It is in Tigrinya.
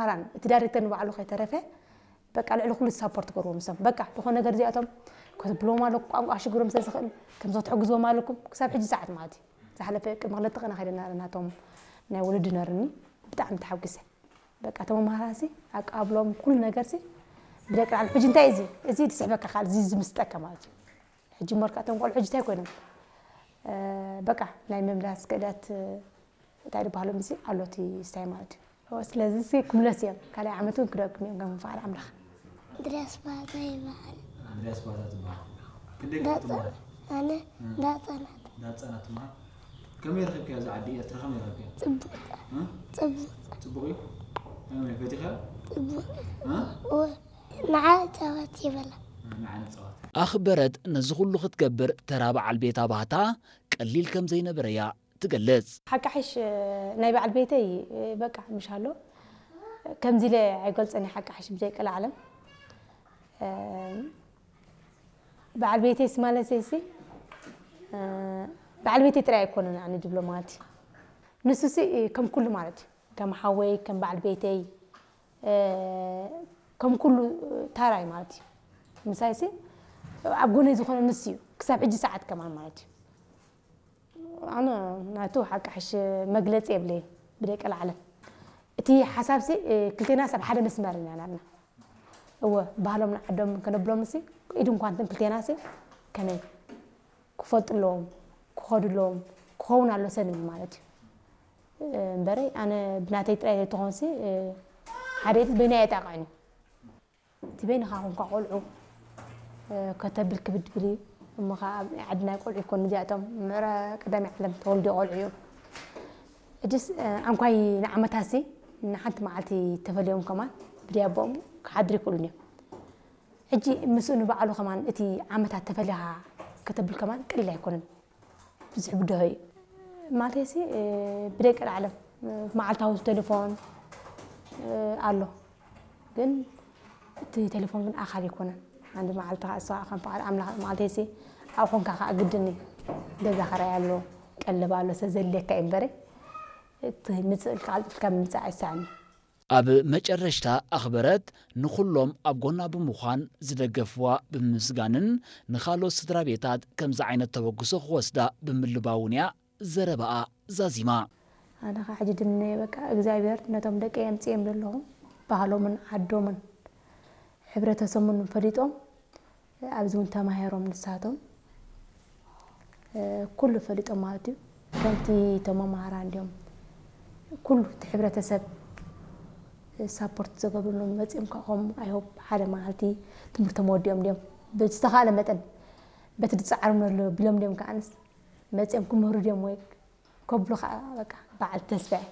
መምህራን፣ እቲ ዳይሬክተር ንባዕሉ ከይተረፈ በቃ ልዕሊ ኩሉ ሳፖርት ገርዎም። እሶም በቃ ዝኾነ ነገር እዚኣቶም ከብሎም ኣለኩም፣ ቋንቋ ሽግሮም ስለ ዝኽእል ከምዞ ትሕግዝዎም ኣለኩም። ክሳብ ሕጂ ሰዓት ማለት እዩ። ዝሓለፈ ቅድሚ ክልተ ቀና ከይደና ናቶም ናይ ወለዲ ነርኒ። ብጣዕሚ ተሓጒሰ። በቃ እቶም መምህራንሲ ኣቃብሎም ኩሉ ነገርሲ ብደቂ ዓል ሕጂ እንታይ እዚ እዚ ትስሕበካ ካል እዚ ዝምስጠካ ማለት እዩ። ሕጂ እሞ እቶም ቆልዑ ሕጂ እንታይ ኮይኖም በቃ ናይ ምምላስ ክእለት እንታይ ዝበሃሎም እዚ ኣሎ እቲ ስታይ ማለት እዩ። ስለዚ ሲ ክምለስ እዮም ካልኣይ ዓመት እውን ክደግም እዮም ከም ፍቃድ ኣምላኽ። ድረስ ባታ ይበሃል። እንድርያስ ባታ ትበሃል። ክንደይ ክፍሊ ትመሃር? ኣነ እንዳፀናት እንዳፀና ትመሃር። ከመይ ረኺብካያ እዛ ዓዲ ኤርትራ ከመይ ረኺብካያ? ፅቡቅ እ? ፅቡቅ ፅቡቕ እዩ። ከመይ ፈቲኻ? ፅቡቅ እ? ንዓ ጨወት ይበላ። ንዓነ ፀዋት። ኣኽበረት ነዚ ኩሉ ክትገብር ተራ በዓል ቤታ ባህታ ቀሊል ከም ዘይነበረያ ትገልጽ። ሓቂ ሓሽ ናይ በዓል ቤተይ በቃ ምሽ ኣሎ ከምዚ ኢለ ኣይገልጸን። ሓቂ ሓሽ ብዘይ ቀልዓለም በዓል ቤተይስ ማለት ሲ በዓል ቤተይ ጥራይ ኣይኮነን ኣነ ድብሎ ማለት እዩ። ንሱ ሲ ከም ኩሉ ማለት እዩ። ከም ሓወይ ከም በዓል ቤተይ ከም ኩሉ ታራይ ማለት እዩ። ምሳይ ሲ ኣብ ጎነይ ዝኾነ ንሱ እዩ ክሳብ ሕጂ ሰዓት ከማን ማለት እዩ። ኣነ ናቱ ሓቂ ሓሽ መግለጺ የብለይ ብደቂ ላዕለ እቲ ሓሳብሲ ክልቴና ሰብ ሓደ መስመር ኢና ናትና እወ ባህሎም ንዓዶም ከነብሎም ሲ ኢድ እንኳንትን ክልቴና ሲ ከመይ ክፈልጡ ኣለዎም ክኸዱ ኣለዎም ክኸውን ኣሎ ሰብ እዩ ማለት እዩ እምበረይ ኣነ ብናተይ ጥራይ ዘይትኾንሲ ሓደ ኢድ በይና የጣቕዕን እዩ እቲ በይንኻ ኮንካ ቆልዑ ከተብል ክብድ ብል እዩ እሞ ከዓ ኣብ ዓዲ ናይ ቆልዑ ይኮኑ እዚኣቶም ምዕረ ቀዳሚ ዓለም ተወልዲ ቆልዑ እዮም ሕጅስ ኣንኳይ ንዓመታሲ ንሓንቲ መዓልቲ ተፈልዮም ከማን ብድያቦኦም ክሓድሩ ይክእሉን እዮም ሕጂ ምስኡ ንባዕሉ ከማን እቲ ዓመታት ተፈሊኻ ከተብል ከማን ቀሊል ኣይኮነን ብዙሕ ብድሆ እዩ ማለት ሲ ብደቂ ዓለም መዓልታዊ ቴሌፎን ኣሎ ግን እቲ ቴሌፎን ግን ኣኻል ይኮነን። ሓንቲ መዓልቲ ከዓ እሷ ከም ፍቓድ ኣምላኽ መዓልተይሲ ኣብ ኾንካ ከዓ ግድን እዩ። ገዛ ክራይ ኣሎ፣ ቀለብ ኣሎ፣ ሰብ ዘድልየካ እዩ እምበረ እቲ ምፅእ ኢልካ ቀልጢፍካ ምምፃእ ኣይሰኣን እዩ። ኣብ መጨረሽታ ኣኽበረት ንኹሎም ኣብ ጎና ብምዃን ዝደገፍዋ ብምምስጋንን ንኻልኦት ስድራ ቤታት ከምዚ ዓይነት ተበግሶ ክወስዳ ብምልባውን እያ ዘረባኣ ዛዚማ። ኣነ ኸዓ ሕጂ ድነ በቃ እግዚኣብሔር ነቶም ደቀይ ኣምፅኦም ዘለኹ ባህሎምን ዓዶምን ሕብረተሰቡን ፈሊጦም ኣብዚ እውን ተማሂሮም ንሳቶም ኩሉ ፈሊጦም ማለት እዩ። ከምቲ እቶም መማህራን እንዲኦም ኩሉ እቲ ሕብረተሰብ ሳፖርት ዝገብርሎም መፂኦም ከዓ ከም ኣይሆፕ ሓደ መዓልቲ ትምህርቶም ወዲኦም እንዲኦም ብዝተኻእለ መጠን በቲ ዝፀዓሮም ዘሎ ቢሎም እንዲኦም ከዓንስ መፂኦም ክምህሩ ድዮም ወይ ከብሉ ከዓ በቃ በዓል ተስፋ እየ።